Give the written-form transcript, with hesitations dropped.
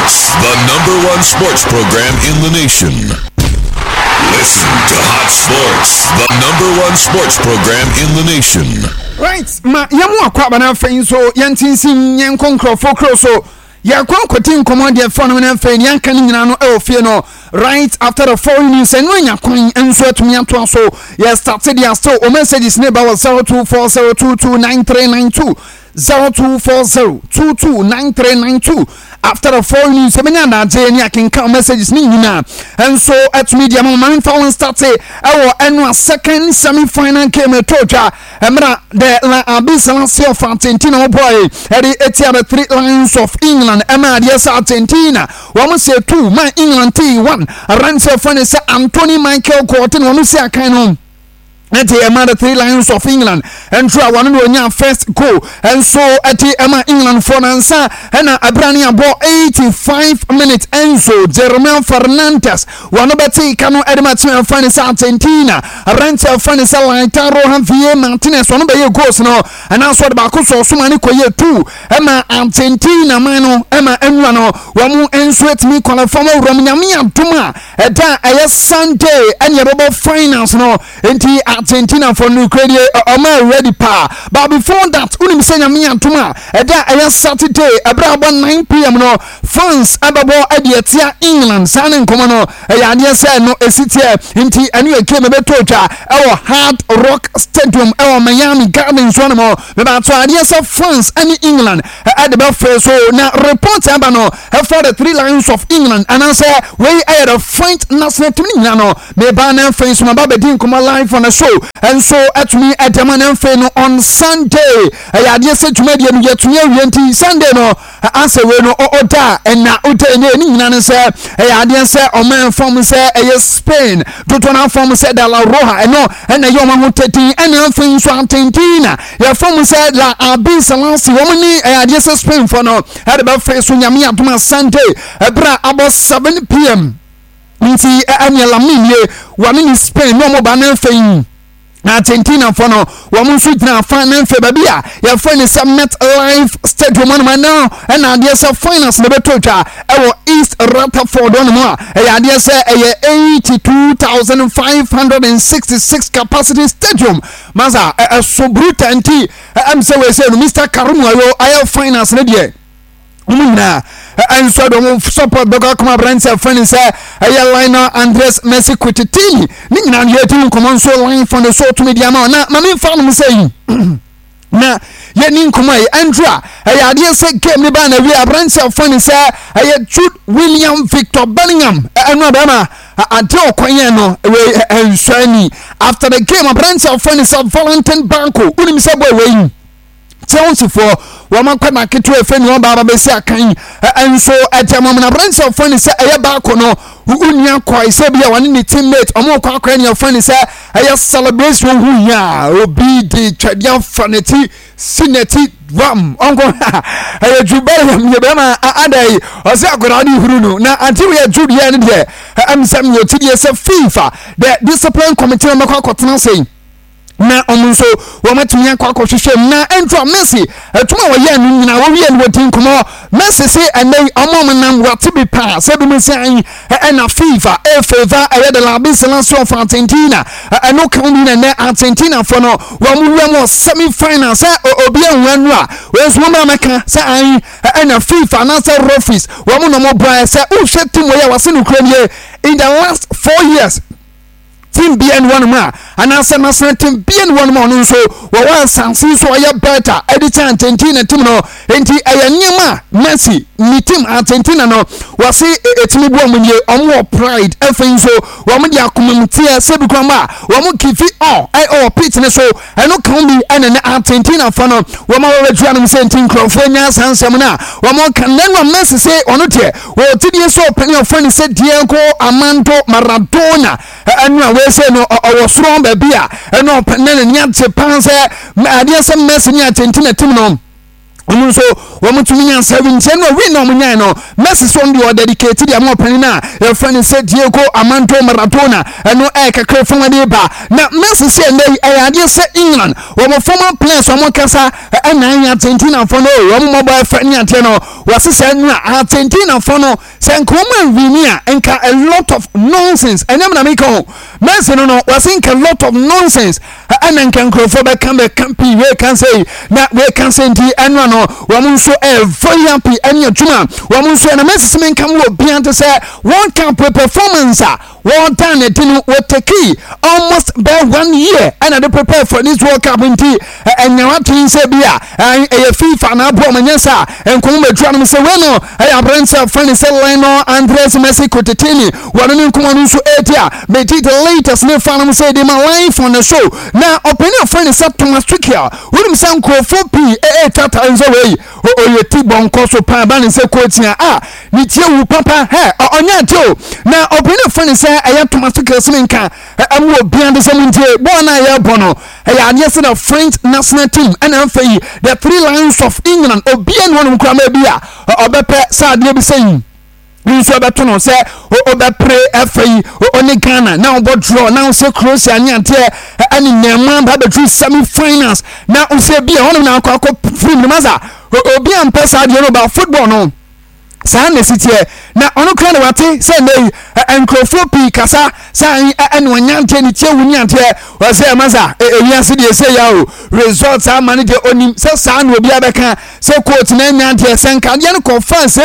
Sports, the number one sports program in the nation. Listen to Hot Sports, the number one sports program in the nation. Right, ma yɛn mu akɔ aba na afei nso yɛn tinsin yɛn nkɔ nkurɔfoɔ kuro so yɛkɔ akɔdi nkɔmɔ deɛ fa no na afei deɛ anka no nyinaa no ɛwɔ fie no right after the foreign news ɛno anya kwan nso atumi atoa so yɛ start deɛ still o messages ne ba wɔ 0240229392 0240229392 after the foreign news ɛbɛnya adagye ne akenkan messages ne nyinaa nso atumi deɛ ma ma memfa wɔn start ɛwɔ ɛno a second semi final game ɛtɔ dwa Mmerɛ the La Albiceleste of Argentina wɔbɔe ɛde etia the Three Lions of England ɛma adeɛ sɛ Argentina wɔn sɛ two ma England tee one aberanteɛ fɛ ne sɛ Anthony Michael Gordon wɔn si akan no ɛde ɛma the Three Lions of England nso a wɔn na wɔnya first goal nso ɛde ɛma England foɔ nansa ɛna abira ne abɔ 85 minutes Enzo Jeremiah Fernandez Wɔn bɛtee ka no de ma team a yɛfrɛ no sɛ Argentina. Aberanteɛ a yɛfrɛ no sɛ Lautaro Javier Martinez ɔno bɛyɛɛ goals no ɛna nso ɔde baako sɔɔ so ma ne kɔyɛɛ two ɛma Argentina man no ɛma ɛnura no wɔn nso atumi qualify wɔn awura mu. Nyame adom a ɛda a ɛyɛ Sunday ɛne ɛbɛbɔ finals no nti Argentina fo no kura die ɔma ready paa. But before that wonim sɛ Nyame adom a ɛda a ɛyɛ Saturday ɛberɛ abɔ 9pm no France bɛbɔ de atia England. Saa ne nkɔmɔ no ɛyɛ adeɛ sɛ no ɛsi teɛ nti ɛno yɛ game ɛbɛtɔ dwa ɛwɔ Hard Rock Stadium ɛwɔ Miami Gardens hɔ nom. Mebato adeɛ sɛ France ɛne England ɛde bɛfrɛ so na report aba no ɛfa the Three Lions of England anaasɛ wei ɛyɛ the French national team ne nyina no meba na afei nso maba bɛdi nkɔmɔ live on the show ɛnso ɛtumi ɛde ama na afei no on Sunday ɛyɛ adeɛ sɛ dwumadie no yɛtumi awie nti Sunday no Asɛ wei no ɔda a ɛna ɔda ɛnɛ ne nyinaa ne sɛ ɛyɛ adeɛ sɛ ɔman fam sɛ ɛyɛ Spain dodoɔ no afam sɛ de la Roja ɛno ɛna ɛyɛ ɔman ho tɛtin ɛna afei nso Argentina yɛfam sɛ La Albiceleste wɔn ne ɛyɛ adeɛ sɛ Spain fo no ɛde bɛfɛ so Nyame adom a Sunday ɛberɛ a abɔ 7 pm nti ɛneɛ Lamine ye wɔne ne Spain ne ɔmo ba no afei Na Argentinafoɔ no, wɔn nso gyina afa na mfe baabi a yɛfrɛ no sɛ MetLife Stadium hɔnom ɛno ɛna adeɛ sɛ finals na ɛbɛtɔ dwa ɛwɔ East Rutherford hɔnom a ɛyɛ adeɛ sɛ ɛyɛ 82,566 capacity stadium masa ɛso bruta nti ɛm sɛ wei sɛ no Mr. Karim Ayo ayɛ finals no deɛ wɔn nyinaa nso de wɔn support bɛkɔ akɔma aberanteɛ a fɛn sɛ ɛyɛ Lionel Andres Messi Cuccittini ne nyinaa no yɛdi nkɔmɔ nso line fɔ ne so tumi di ama na maame nfa nom sɛ yi na yɛni nkɔmɔ yi ɛnso a ɛyɛ adeɛ sɛ game ne ba na wie aberanteɛ a fɛn sɛ ɛyɛ Jude William Victor Bellingham ɛno abɛrima adeɛ ɔkwan yɛn no wei ɛnsɔ ani after the game aberanteɛ a fɛn sɛ Valentin Banco wonim sɛ bɔ wei Chelseafoɔ wɔn akwadaa ketewa efe ne ɔbaa bɛsi akan nso ɛde ama wɔn aberanteɛ ɔfɔ ne sɛ ɛyɛ baako no onua kɔe sɛ bi a wɔne ne teammate wɔn kɔ akɔyɛ ne ɔfɔ ne sɛ ɛyɛ celebration ho hia obi de twɛdeɛ afa n'akyi si n'akyi wam ɔnkɔ ɛyɛ ju bɛyɛ yɛ bɛrima ada yi ɔsɛ akwadaa ne huru no na ante wɔ yɛ ju deɛ ne deɛ ɛm sɛ meyɛ ti deɛ sɛ FIFA the discipline committee wɔn bɛkɔ akɔtena ase na wɔn nso wɔatumi akɔ akɔhwehwɛ mu na ɛnto a Messi adwuma a wɔyɛ no nyinaa wɔwie no wɔdi nkɔmmɔ Messi se ɛnɛ yi ɔmo ɔmo nam wɔate bi paa sɛ bi mu sɛ ayi ɛna FIFA ɛfeva ɛyɛ de la Albiceleste of Argentina ɛno ka bi na ɛnɛ Argentina fo no wɔn wura mu semi final sɛ obi ehu ɛno a wɔn nso wɔn amɛka sɛ ayi ɛna FIFA anaasɛ referees wɔn na wɔn bɔ ɛ sɛ wohwɛ team wɔ yɛ wɔse no kura nie in the last 4 years team bia ne wɔnom a anaasɛ national team bia ne wɔnom a ɔno nso wɔwɔ asase so ɔyɛ better ɛde kyɛn Argentina team no nti ɛyɛ nneɛma a Messi ne team Argentina no wɔse ɛtumi bu ɔmo nie ɔmo wɔ pride afei nso wɔn de akoma mu teɛ sɛ bi kwan ba wɔn kifi ɔ ɛwɔ pitch ne so ɛno ka bi ɛne ne Argentina fa no wɔn a wɔbɛtua nom sɛ nti nkurɔfoɔ nya saa nsɛm no a wɔn ka nanu a Messi se ɔno deɛ wɔtidie sɛ ɔpɛni ɔfrɛ no sɛ Diego Armando Maradona ɛno a wɔsɛ no ɔwɔ soro baabi a ɛno ɔpɛni na n'ani agye paa sɛ adeɛ sɛ Messi ne Argentina team no. Wɔn nso wɔn tumi nya 17 no win na wɔn nyae no. Messi so deɛ ɔdedicate deɛ ama ɔpanin a yɛfrɛ no sɛ Diego Armando Maradona. Ɛno ɛyɛ kakra fam de ba na Messi sɛ ɛnɛ yi ɛyɛ adeɛ sɛ England wɔn former players wɔn kasa ɛna ayɛ Argentina fo no, wɔn mmɔbɔ ɛfɛ ne adeɛ no. Wɔsi sɛ ɛno a Argentina fo no sɛ nka wɔn anwini a, nka a lot of nonsense. Ɛnyɛ na meka ho, Messi no wɔsi nka a lot of nonsense ɛna nka nkurɔfoɔ bɛka pii, wei ka sɛ na wei ka sɛ. Nti ɛno ano wɔn nso ɛyɛ very happy ɛne adwuma wɔn nso. Ɛna Messi sɛ menka mu wɔ bia te sɛ World Cup performance a wɔdan ne di no, wɔtake almost bɛɛ one year ɛna de prepare for this World Cup. Nti ɛnya watene sɛ bi a ɛyɛ FIFA na aboɔ ɔmo nyɛ sa nkɔmɔ bɛdura no sɛ wei no ɛyɛ aberanteɛ a fɛn sɛ Lionel Andres Messi Cuccittini. Wɔn ne nkɔmɔ no nso ɛredi a megye the latest ne fa no sɛ ɛde ma live on the show. Na ɔpanin a fɛn sɛ Thomas Tuchel, wonim sɛ nkurɔfoɔ pii ɛɛtwa tare sɛ wei ɔyɛ ti bɔnkɔ so paa ba ne sɛ coach a ne tie wu papa hɛ ɔnyɛ ate o. Na ɔpanin a fɛn sɛ ɛyɛ Thomas Tuchel sɛ nka ɛmu obiara de sɛ mu ntie bɔɔl no a yɛrebɔ no, ɛyɛ adeɛ sɛ the French national team ɛna afei yi the Three Lions of England, obiara ne wɔnom koraa ma bi a ɔbɛpɛ sɛ adeɛ bi sɛ yi nso ɛbɛto no sɛ ɔbɛpere ɛfɛ yi ɔne Ghana na ɔbɔ draw na ɔsɛ Croatia ne adeɛ ɛne nneɛma ba bɛduru semi finals na ɔsɛ bi a ɔnom na akɔ firi mu masa. Obi a mpɛ saa adeɛ no ba football no saa na esi teɛ na ɔno kura na wate sɛ ɛnɛ yi nkurɔfoɔ pii kasa sɛ ɛne ɔnyanteɛ ne tie wu ne adeɛ. Ɔsɛ masa ewiase deɛ ɛsɛ ya o result ama no deɛ, onim sɛ saa na obi abɛka sɛ coach na anya adeɛ sɛ nkadeɛ no kɔ fans.